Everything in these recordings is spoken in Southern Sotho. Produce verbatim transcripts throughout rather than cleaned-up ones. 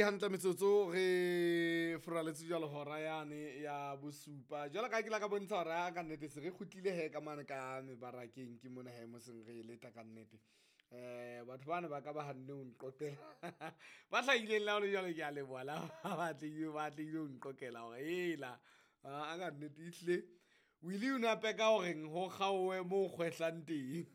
Hantle metsotso re furaletse jwalo hora yane ya bosupa. Jwalo ka ha ke la ka bontsha hore a ka nnete se re kgutlile he ka mane ka mebarakeng, ke mona he mo seng re leta ka nnete. Um batho bana ba ka ba hanne ho nqoqela ba hlahileng le ha hole jwalo, ke a leboha le ha ba atlehile, ba atlehile ho nqoqela hore hela a ka nnete ehlile Willy o na peka horeng ho kgaowe mo kgwehlang teng.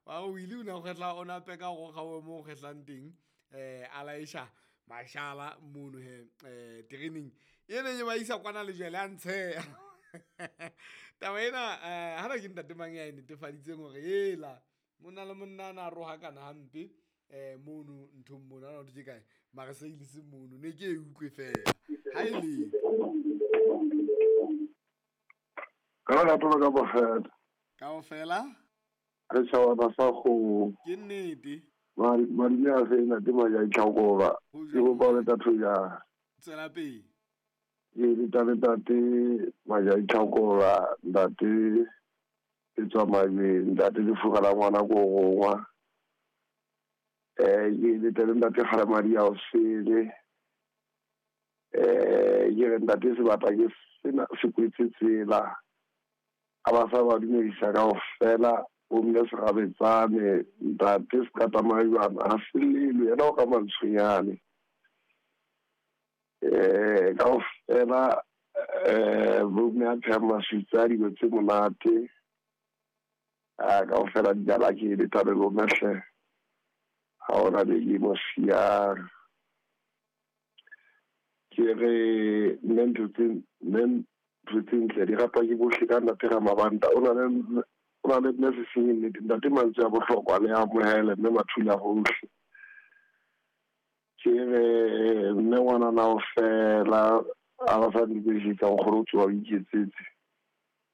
Ba re Willy o na kgwehla, o na peka hore o kgaowe mo kgwehlang teng. Um a laesha mashala mono hee um tereneng e neng e ba isa kwana le jele a ntsheha. Taba ena um hana ke ntate mang ya e netefaditseng hore hela monna le monna a na rohakana hampe um mono nthong mono ana hothwe ke kae Marseilles mono, ne ke e utlwe feela ha e le Ka lerato la ka bofela. Kaofela Re tjhaba sa kgomo. Ke nnete. Madume a fe ntate Maja Itlhakola. Ho Ke kopa jwang? le tatho ya. Tswela pele. Ke le le ntate Maja Itlhakola, ntate e tswa majweng, ntate lefuga la ngwana ko rongwa. Eh ke le le ntate Kgalemadi ya osele. Eh ke re ntate sebata ke sena se kwetse tsela. A ba sa ba dumedisa kaofela, o mme Serabetsane, ntate Sekata-Majwana, ha se lelwe yena o ka mantshonyane. Eh kaofela eh bo mme a phehang maswitsa dilo tse monate. A kaofela di jala ke le tla le lona hle. Ha hona le ke mo siyang. Ke re nne ntho tse nne ntho tse ntle di ratwa ke bohle ka ntate Ramabanta o na le o na le mme se seng nnete ntate mantswe a bohlokwa le amohele mme mathula hohle. Ke re mme ngwana na o fela a ba sa ntumedisetsa nkgono o tsoha o iketsetse.